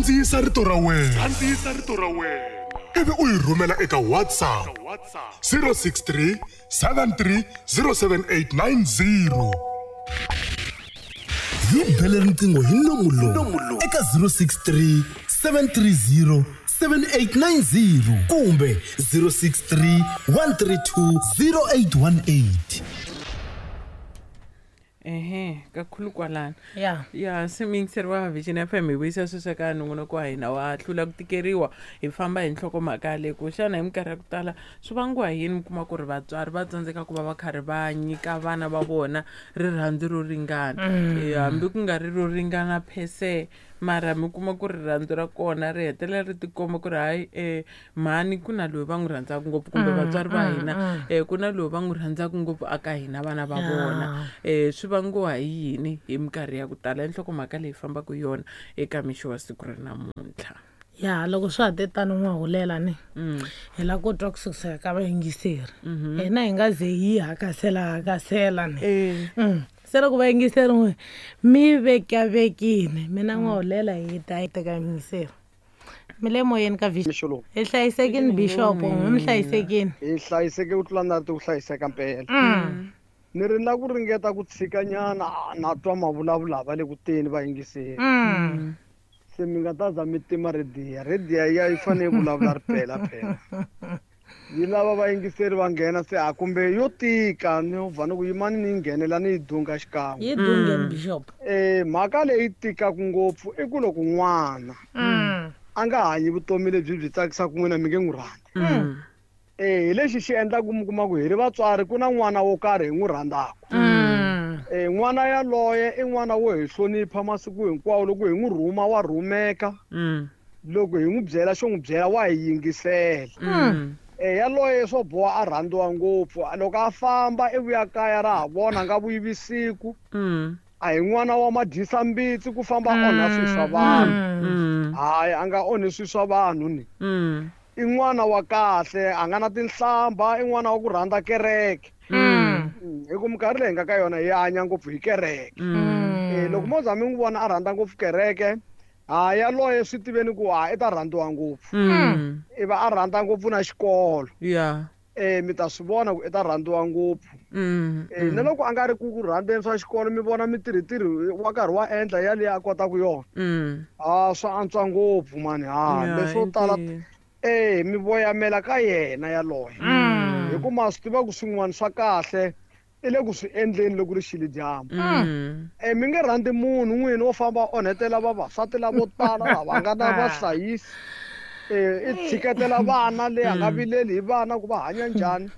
Kandziyisa rito ra wena. Kandziyisa rito ra wena. Ivi u yi rhumela eka WhatsApp 063 73 07890. Hi bele riqingho hi nomu lowu eka 063 730 7890 kumbe 063 132 0818. Ehe, kakhulu kwalano. Ya. Ya, se muyingiseri wa Vision FM, hi vuyisa sweswo ka nongonoko wa hina wa hlula ku tikeriwa. Hi famba hi nhlokomhaka leyi ku xana hi minkarhi ya ku tala swi vangiwa hi yini mi kuma ku ri vatswari va tsandzeka ku va va karhi va nyika vana va vona rirhandzu ro ringana. Hambi ku nga ri ro ringana phese, mara mi kuma ku ri rirhandzu ra kona ri hetelela ri tikomba ku ri hayi, mhani ku na loyi va n'wi rhandzaka ngopfu, kumbe vatswari va hina ku na loyi va n'wi rhandzaka ngopfu aka hina vana va vona. Swi vangiwa hi yini hi minkarhi ya ku tala? I nhlokomhaka leyi fambaka yona eka mixo wa siku ra namuntlha. Ya, loko swa ha te tano n'wa hulela ni hi lava ku twa ku sukusela ka vayingiseri. Hina hi nga ze hi hakasela hakasela ni. Se loko vayingiseri n'we mi vekavekini, mina n'wa hulela hi ta hi teka yingiseri. Mi le moyeni ka Vision. Mixo lowu. Hi hlayisekini Bishop, n'we mi hlayisekini. Hi hlayiseke ku tlula na ri ku hlayiseka mpela. Ni ri na ku ringeta ku tshikanyana, na twa mavulavula va le ku teni vayingiseri. Se mi nga ta za mi tima rediya. Rediya ya yi fanele yi vulavula ri pela phela. Yi lava vayingiseri va nghena se a kumbe yo tika ni va ni ku yimani ni nghenela ni yi dunga xikan'we. Yi dungeni Bishop. Mhaka leyi tikaka ngopfu i ku loko n'wana a nga hanyi vutomi lebyi byi tsakisaka n'wina mi nge n'wi rhandzi. Hi lexi xi endlaka mi kuma ku hi ri vatswari ku na n'wana wo karhi hi n'wi rhandzaka. N'wana yaloye i n'wana wo hi hlonipha masiku hinkwawo, loko hi n'wi rhuma wa rhumeka. Loko hi n'wi byela xo n'wi byela wa hi yingisela. Yaloye swo boha a rhandziwa ngopfu. Loko a famba i vuya kaya ra ha vona, a nga vuyi vusiku. A hi n'wana wa madyisa mbitsi ku famba a onha swilo swa vanhu. Hayi, a nga onhi swilo swa vanhu ni. I n'wana wa kahle, a nga na tinhlamba, i n'wana wa ku rhandza kereke. Hi ku minkarhi leyi hi nga ka yona hi hanya ngopfu hi kereke. Loko mo za mi n'wi vona a rhandza ngopfu kereke, ha yaloye swi tiveni ku ha i ta rhandziwa ngopfu. I va a rhandza ngopfu na xikolo. Mi ta swi vona ku i ta rhandziwa ngopfu. Na loko a nga ri ku rhandzeni swa xikolo, mi vona mitirhitirhi wa karhi wa endla yaleyo a kotaka yona. Swa antswa ngopfu mani. Leswo tala mi voyamela ka yena yaloye. Hi ku ma swi tiva ku swin'wana swa kahle i le ku swi endleni loko ri xile dyambu. Mi nge rhandzi munhu n'wini wo famba onhetela vavasati lavo tala lava nga na vahlayisi. I tshiketela vana leyi a nga vileli hi vana ku va hanya njhani.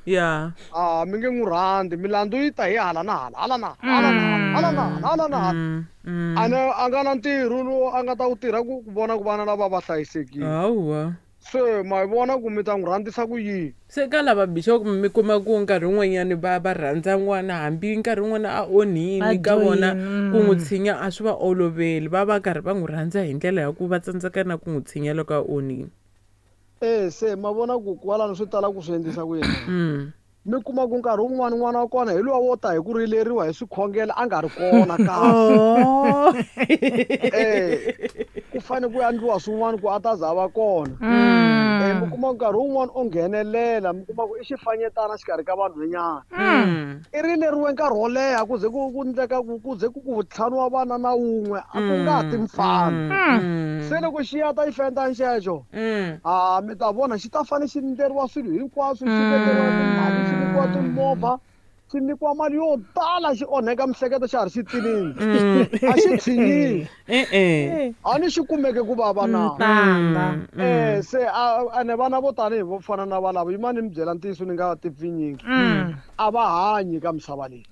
Mi nge n'wi rhandzi, milandzu yi ta hi hala na hala, hala na hala, hala na hala, hala na hala na hala. A nga na ntirho lowu a nga ta wu tirha ku vona ku vana lava va hlayisekile. Hawa. Se ma yi vona ku mi ta n'wi rhandzisa ku yini? Se ka lava Bishop mi kuma ku nkarhi wun'wanyani va rhandza n'wana, hambi nkarhi wun'wana a onhile ka vona ku n'wi tshinya a swi va oloveli, va va karhi va n'wi rhandza hi ndlela ya ku va tsandzeka na ku n'wi tshinya loko a onhile. Se ma vona ku kwalano swi tala ku swi endlisa ku yini? Mi kuma ku nkarhi wun'wani n'wana wa kona hi luwa wo ta hi ku rileriwa hi swikhongelo a nga ri kona kahle. Ku fanele ku endliwa swin'wana ku a ta za a va kona. Mi kuma nkarhi wun'wani o nghenelela, mi kuma ku i xifanyetana xikarhi ka vanhwanyana. I rileriwe nkarhi wo leha ku ze ku ku endleka ku ku ze ku ku ntlhanu wa vana na wun'we a ku nga ti mfana. Se loko xi ya ta xifanyetana xexo, mi ta vona xi ta fanele xi endleriwa swilo hinkwaswo, xi vekeriwa timali, xi nyikiwa timovha, xi nyikiwa mali yo tala, xi onheka miehleketo xa ha ri xitsinini. A xi tshinyiwi. A ni xi kumeke ku vava na. Se ene vana vo tanihi vo fana na valavo, yimani ni mi byela ntiyiso ni nga tipfinyingi. A va hanyi ka misava leyi.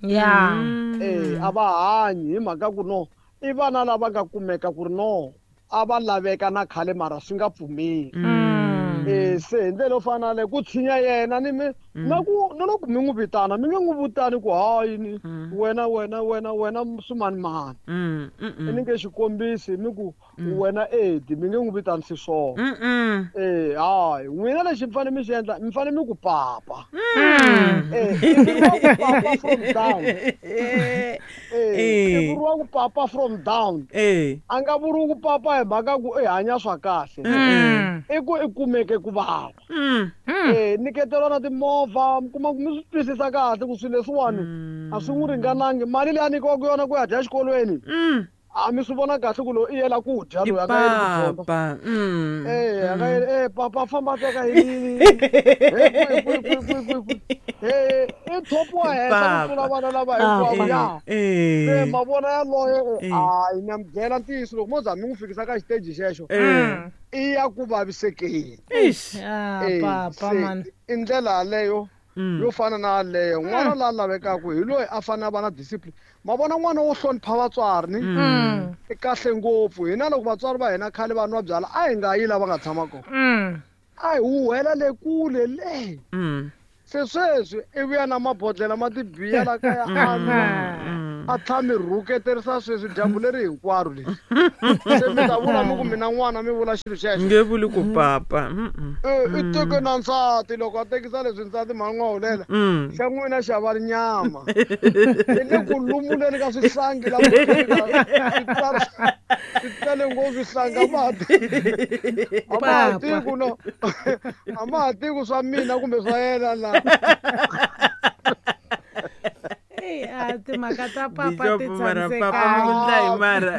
A va hanyi hi mhaka ku no i vana lava nga kumeka ku ri no a va laveka na khale mara swi nga pfumeli. Se hi ndlela yo fana na leyo ku tshinya yena ni mi na ku na loko mi n'wi vitana mi nge n'wi vitani ku hayi ni wena wena wena wena swimanimani. Ni nge xikombisi mi ku wena Edi mi nge n'wi vitani xiswona. Hayi n'wina lexi mi fanele mi xi endla mi fanele mi ku papa. Mi ku papa from down. I vuriwa ku papa from down. A nga vuriwi ku papa hi mhaka ku i hanya swa kahle. I ku i kumeke ku vava. Nyiketelwa na timovha, mi kuma ku mi swi twisisa kahle ku swilo leswiwani a swi n'wi ringanangi. Mali leyi a nyikiwaka yona ku ya dya exikolweni, a mi swi vona kahle ku loyi i yela ku dya, loyi a nga yeli ku dyondza. Papa. A nga yeli, papa famba teka yini. I thopiwa henhla ku tlula vana lava hinkwavo ya. Se ma vona yaloye, hayi na mi byela ntiyiso, loko mo za mi n'wi fikisa ka xiteji xexo, i ya ku vavisekeni. Papa man. I ndlela yaleyo yo fana na yaleyo. N'wana la lavekaka hi loyi a fanele a va na discipline. Ma vona n'wana wo hlonipha vatswari ni? I kahle ngopfu. Hina loko vatswari va hina khale va nwa byala, a hi nga yi la va nga tshama kona. A hi huhela le kule le. Se sweswi i vuya na mabodhlela ma tibiya la kaya a nwa, a tlha mi rhuketerisa sweswi dyambu leri hinkwaro leri. Se mi ta vula mi ku mina n'wana mi vula xilo xexo. Nge vuli ku papa. I teke na nsati, loko a tekisa leswi nsati mhani n'wa hulela, xa n'wina xa va nyama. I le ku lumuleni ka swihlangi la swi tele ngopfu swihlangi, a ma ha a ma ha tivi ku no, a ma ha tivi ku swa mina kumbe swa yena la. Timhaka ta papa ti Bishop, mara papa mi ku ndla hi mara.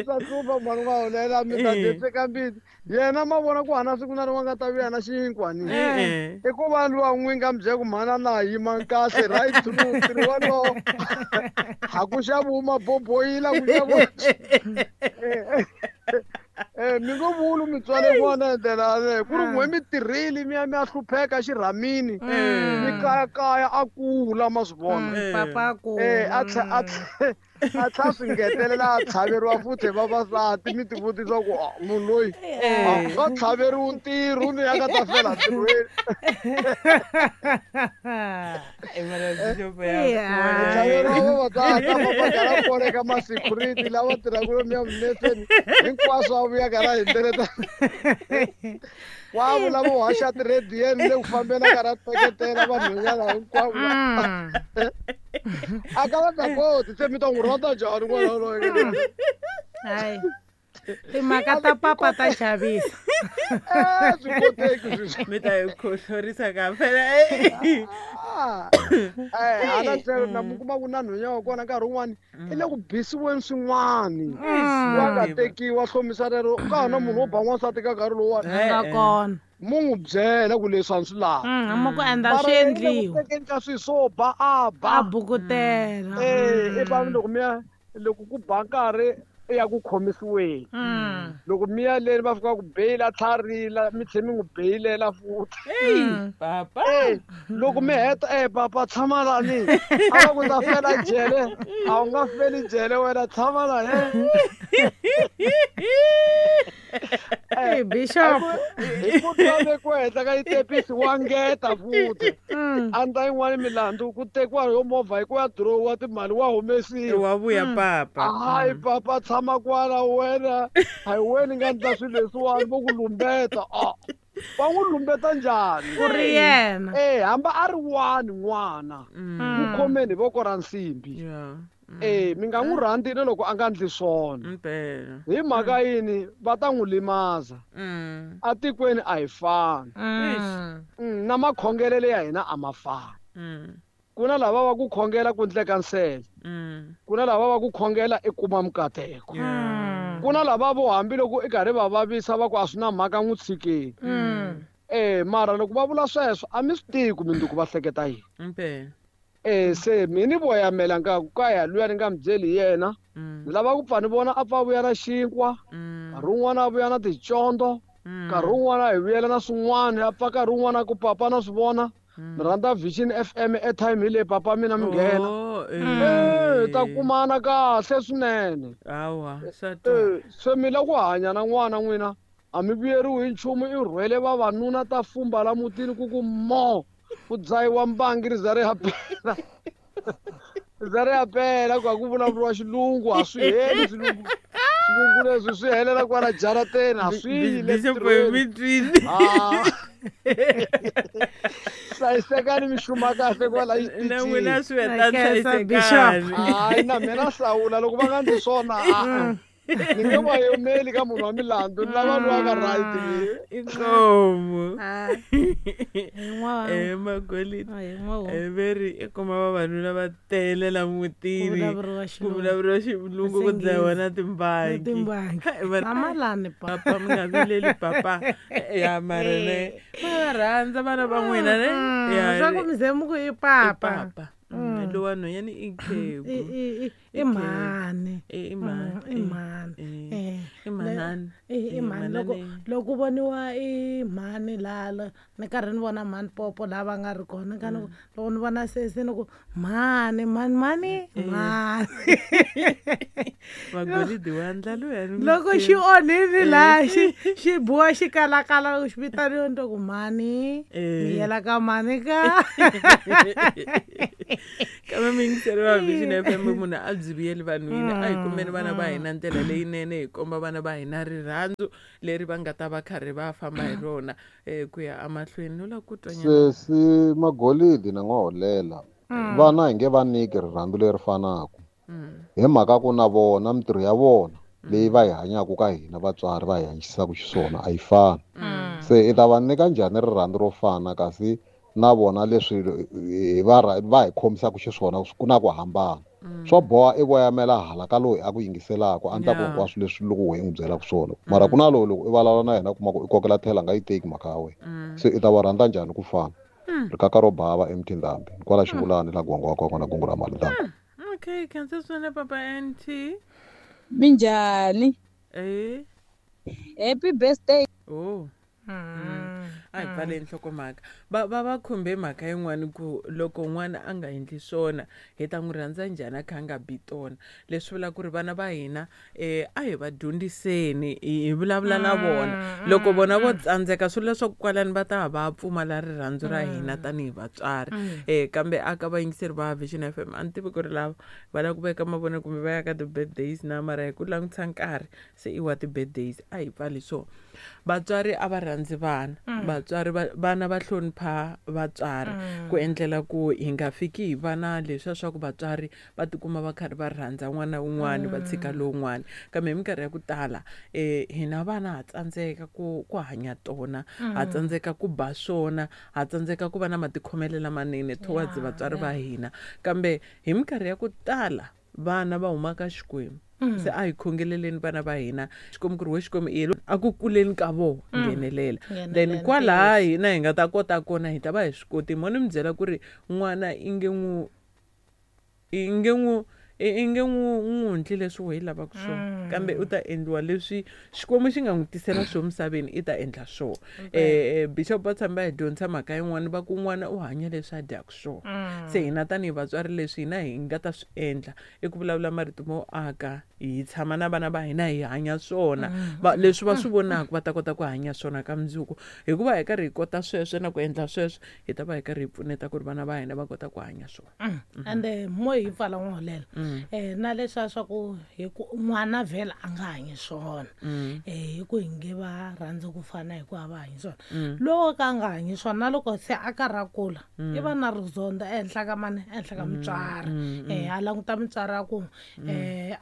Swa hlupha mhani n'wa hulela, mi ta dyetseka mbitsi. Yena ma vona ku hana siku na rin'we nga ta vuya na xinkwa ni. I ku va luwa n'wi nga mi byela ku mhana na yima kahle right through ntirho wolowo. Ha ku xaviwi maboboyila, ku xaviwa. Mi ngo vuli mi tswale n'wana hi ndlela yaleyo. Ku ri n'we mi tirhile mi ya mi ya hlupheka xirhamini. Mi kayakaya a kula, ma swi vona. Papa a kula. A a tlha swi ngetelela a tlhaveriwa futhi hi vavasati, mi tivutisa ku, munhu loyi a nga tlhaveriwi ntirho ni ya nga ta fela ntirhweni. Tlhaveriwa vavasati, a famba karhi a koleka ma-security lava tirhaka lomuya mineseni, hinkwaswo a vuya karhi a hundzeleta. Wa vula vo haxa tirhediyeni le ku fambeni a karhi a teketela vanhwanyana hinkwavo. A ka va nga koti, se mi ta n'wi rhandza njhani n'wana waloye? Hayi. Timhaka ta papa ta chavisa. Swi koteki sweswi. Mi ta hi khohlorisa ka phela. Hala tlhelo na mi kuma ku na nhwenya wa kona nkarhi wun'wani i le ku bisiweni swin'wani. Wa nga tekiwa hlomisa rero, ka ha na munhu wo ba n'wansati ka nkarhi lowuwani. A nga kona. Mu n'wi byela ku leswi a swi lavi. Mu ku endla Mara swi yena le ku endliwa. tekeni ka swilo swo ba, a ba. A bukutela. I va loko mi ya, loko ku ba nkarhi i ya ku khomisiweni. Loko mi ya leni va fika ku beyila tlharila, mi tlhela mi n'wi beyilela futhi. Papa. Loko mi heta, papa tshama lani. A va ku ta fela jele, a wu nga feli jele wena, tshama lani. Bishop. Hi ku twa vekiwa henhla ka xitepisi wa ngeta futhi. A ndla yin'wani milandzu ku tekiwa yo movha hi ku ya dirowa timali wa humesiwa. Wa vuya papa. Hayi papa tshama kwala wena. A hi wena nga ndla swilo leswiwani vo ku lumbeta. Va n'wi lumbeta njhani? Ku ri yena. Hamba a ri wani n'wana. N'wi khomeni hi voko ra nsimbi. Mi nga n'wi rhandzi na loko a nga ndli swona. Mpela. Hi mhaka yini va ta n'wi limaza? Atikweni a hi fani. Na makhongelelo ya hina a ma fani. Ku na lava va ku khongela ku ndleka nsele. Ku na lava va ku khongela i kuma mikateko. Ku na lava vo hambiloko i karhi va vavisa va ku a swi na mhaka n'wi tshikeni. Mara loko va vula sweswo a mi swi tivi ku mundzuku va hleketa yini. Mpela. Se mina ni voyamela nga ku ka ya luya ni nga mi byeli hi yena. Ni lava ku pfa ni vona a pfa a vuya na xinkwa, nkarhi wun'wana a vuya na ticondzo, nkarhi wun'wana hi vuyela na swin'wana, a pfa nkarhi wun'wana a ku papa na swi vona. Ni rhandza Vision FM airtime hi leyi papa mina mi nghena. Ta kumana kahle swinene. Hawa, swa twala. Se mi la ku hanya na n'wana n'wina, a mi vuyeriwi hi nchumu, i rhwele vavanuna ta fumba la mutini ku ku mo. Ku dzahiwa mbangi ri za ri ya pela. Ri za ri ya pela ku ha ku vulavuriwa xilungu, a swi heli xilungu. Xilungu leswi swi helela kwala jarateni, a swi yi le Bishop ntirhweni. mi twile. Hlayisekani mi xuma kahle kwala na n'wina swi heta hlayisekani. Hayi na mina hlawula loko va nga ndzi swona a ni nge va yimeli ka munhu wa milandzu ni lava lowa ka right. Inkomu magolidi veri i kuma vavanuna va tele la mutini ku vulavuriwa xilungu ku dlayiwa na timbangi. Papa mi nga vileli papa ya mara ne va rhandza vana va n'wina ne swa ku mi ze mi ku i papa. Lowa nhwanyana i khegu i mhani i mhani i manani i mhani. Loko voniwa i mhani lala ni karhi ni vona mhani popo laha va nga ri kona ka loko ni vona sesi ni ku mhani mhani mhani mhani. Magolidi wa ndla luya loko xi onhini laha xi biwa xi kalakala loko xi vitaniwa ni ku mhani mi yela ka mhani ka. Kambe miyingiseri va Vision FM munhu a byi vuyeli vanhwini a hi kumeni vana va hina ndlela leyinene hi komba vana va hina rirhandzu leri va nga ta va karhi va famba hi rona ku ya emahlweni. No lava ku twa nyana sesi Magolidi na N'waholela vana hi nge va nyiki rirhandzu leri fanaka hi mhaka ku na vona mintirho ya vona leyi va hi hanyaka ka hina vatswari va hi hanyisaka xiswona a yi fani. Se i ta va nyika njhani rirhandzu ro fana kasi na vona leswi va hi khomisaka xiswona ku na ku hambana. Swo boha i voyamela hala ka loyi a ku yingiselaka a endlaka hinkwaswo leswi loko wehe n'wi byelaka swona mara ku na loyi loko i vulavula na yena kuma ku i kokela tlhela a nga yi teki mhaka ya wena. Se i ta va rhandza njhani ku fana? Rikaka ro bava eMtindambi kwala Xivulani la Gwangwa wa kona kungu ra mali danko. Okay, khensa swinene papa NT. Minjhani? Happy birthday. Oh. A hi pfaleni nhlokomhaka. Va khumbe mhaka yin'wana ku loko n'wana a nga endli swona hi ta n'wi rhandza njhani a kha a nga bi tona. Leswi vulaka ku ri vana va hina a hi va dyondziseni hi vulavula na vona. Loko vona vo tsandzeka swi vula leswaku kwalani va ta va pfumala rirhandzu ra hina tanihi vatswari. Kambe a ka vayingiseri va Vision FM a ni tivi ku ri lava va lava ku veka mavona kumbe va ya ka ti-birthdays na mara hi ku langutisa nkarhi se i wa ti-birthdays a hi pfali so. Vatswari a va rhandzi vana. Vatswari vana va hlonipha vatswari ku endlela ku hi nga fiki hi vana leswiya swa ku vatswari va tikuma va karhi va rhandza n'wana wun'wana va tshika lowun'wana. Kambe hi minkarhi ya ku tala hina vana ha tsandzeka ku hanya tona, ha tsandzeka ku ba swona, ha tsandzeka ku va na matikhomelo lamanene towards vatswari va hina. Kambe hi minkarhi ya ku tala vana va huma ka Xikwembu. Se a hi khongeleleni vana va hina Xikwembu ku ri we Xikwembu i a ku kuleni ka vo nghenelela. Then kwalaha hina hi nga ta kota kona hi ta va hi swi koti. Mo ni mi byela ku ri n'wana i nge n'wi endli leswi wehe i lavaka swona kambe u ta endliwa leswi Xikwembu xi nga n'wi tisela swo misaveni i ta endla swona. Bishop va tshame va hi dyondzisa mhaka yin'wana va ku n'wana u hanya leswi a dyaka swona. Se hina tanihi vatswari leswi hina hi nga ta swi endla i ku vulavula marito mo aka hi tshama na vana va hina hi hanya swona. Leswi va swi vonaka va ta kota ku hanya swona ka mundzuku. Hikuva hi karhi hi kota sweswo na ku endla sweswo hi ta va hi karhi hi pfuneta ku ri vana va hina va kota ku hanya swona. Ende mo hi pfala N'waholela na leswiya swa ku hi ku n'wana vhela a nga hanyi swona hi ku hi nge va rhandzi ku fana hi ku a va hanyi swona. Loko ka a nga hanyi swona na loko se a karhi a kula i va na rizondho ehenhla ka mani ehenhla ka mutswari. A languta mutswari a ku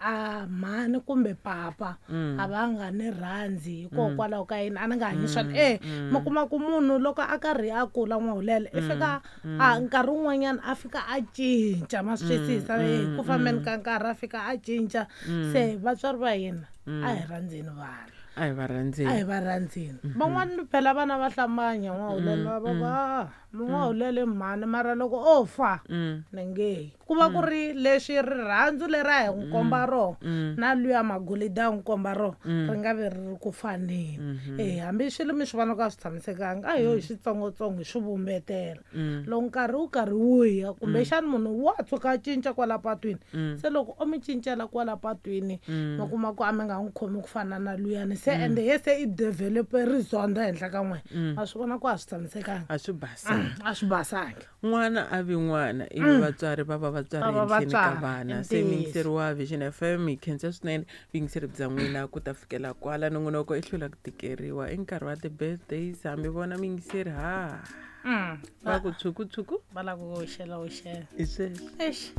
a mhani kumbe papa a va nga ni rhandzi hikokwalaho ka yini a ni nga hanyi swona. Mi kuma ku munhu loko a karhi a kula N'waholela i fika a nkarhi wun'wanyana a fika a cinca ma swi twisisa ku fambeni ka nkarhi a fika a cinca. Se vatswari va hina a hi rhandzeni vana. A hi va rhandzeni. A hi va rhandzeni. Van'wana phela vana va hlambanya N'waholela va va N'waholela mhani mara loko o fa ni nge ku va ku ri leswi rirhandzu leri a hi n'wi komba rona na luya magolidi a n'wi komba rona ri nga vi ri ri ku faneni. Hambi swilo mi swi vona ku a swi tshamisekanga a hi yo hi switsongotsongo hi swi vumbetela. Loko nkarhi wu karhi wu ya kumbexani munhu wa tshuka a cinca kwala patwini se loko o mi cincela kwala patwini mi kuma ku a mi nga n'wi khomi ku fana na luyani se ende ye se i develope rizondho ehenhla ka n'wina ma swi vona ku a swi tshamisekanga. A swi basanga. A swi basangi. N'wana a vi n'wana ivi vatswari va va vatswari ehenhleni ka vana. Se muyingiseri wa Vision FM hi khensa swinene vuyingiseri bya n'wina ku ta fikela kwala nongonoko i hlula ku tikeriwa i nkarhi wa ti-birthdays hambi vona muyingiseri ha. Va ku tshuku tshuku. Va lava ku hoxela hoxela. Hi sweswo. Eish.